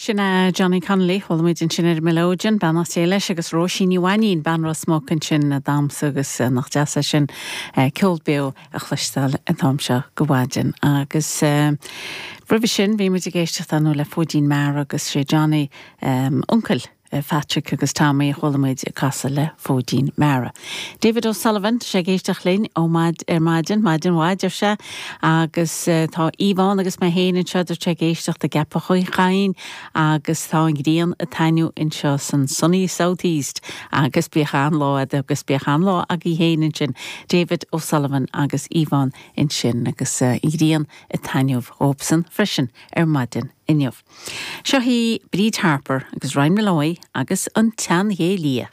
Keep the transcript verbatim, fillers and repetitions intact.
Sin é Johnny Connolly chuala muid ansin ar melodeon beannacht Dé leis agus Róisín Ní Mhainín bean Ros Muc ansin ag damhsa agus nach deas é sin ceol beo a chloisteáil an t-am seo go maidin agus roimhe sin bhí muid ag éisteacht ann le Fóidín Meara agus sé Johnny um, uncail Patrick agus Tommy chuala muid ag casadh le Fóidín Meara. David O'Sullivan sé ag éisteacht linn ó maid ar maidin maidin mhaith ar sé agus uh, tá Yvonne agus mé féin anseo ag éisteacht i gCeapach Chuinn agus tá an ghrian ag taitneamh anseo san Sunny Southeast agus bíodh an-lá agus bíodh an-lá agaibh féin ansin David O'Sullivan agus Yvonne ansin agus uh, an ghrian ag taitneamh dóibhsan freisin ar maidin inniu. Seo hí Bríd Harper agus Ryan Malloy agus an tSeanghé Liath.